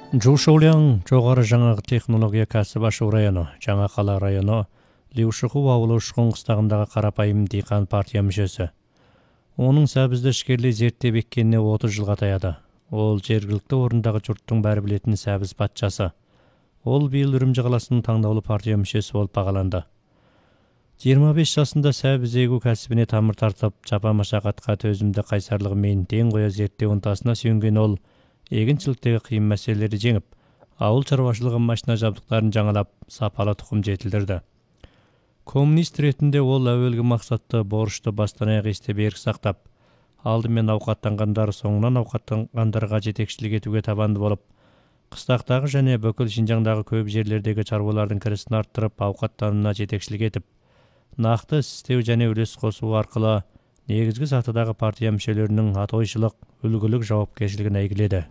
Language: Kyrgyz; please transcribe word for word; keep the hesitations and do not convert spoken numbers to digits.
Жушуляң жогору жаңа технология кәсіп ашу району, Жаңа Кала району, Лиушуху абалы Ушкун кыстагындагы карапайым дыйкан партия мүчөсү. Онун сәбизди ишкерлей зерттеп эккенине отуз жылга таяды. Ол жергиликтүү орундагы журттун баары билетин сәбиз патчасы. Ол быйыл Үрүмчү каласынын таңдоолуу партия мүчөсү болуп багаланды. жыйырма беш жашында сәбиз эгүү кәсибине тамыр тартып, жапа машакатка төзүмдө кайсарлыгы менен тең кое зерттөө ынтасына сүйөнгөн ол эгинчиликтеги кыйын маселелерди жеңип, ауыл чарбачылыгы машина жабдыктарын жаңалап, сапалы тукум жетилдирди. Коммунист иретинде ол әуелгі максатты борчту баштан аяк эсте берк сактап, алдымен аукаттангандар соңунан аукаттангандарга жетекчилик этүүгө табанды болуп, кыстактагы жана Бөкөл Шинжаңдагы көп жерлердеги чарбалардын киресин арттырып, аукаттанууна жетекчилик этип, накты иштөө жана үлес косуу аркылуу негизги сатыдагы партия мүчөлөрүнүн атойчулук, үлгүлүк жоопкерчилигин әйгиледи.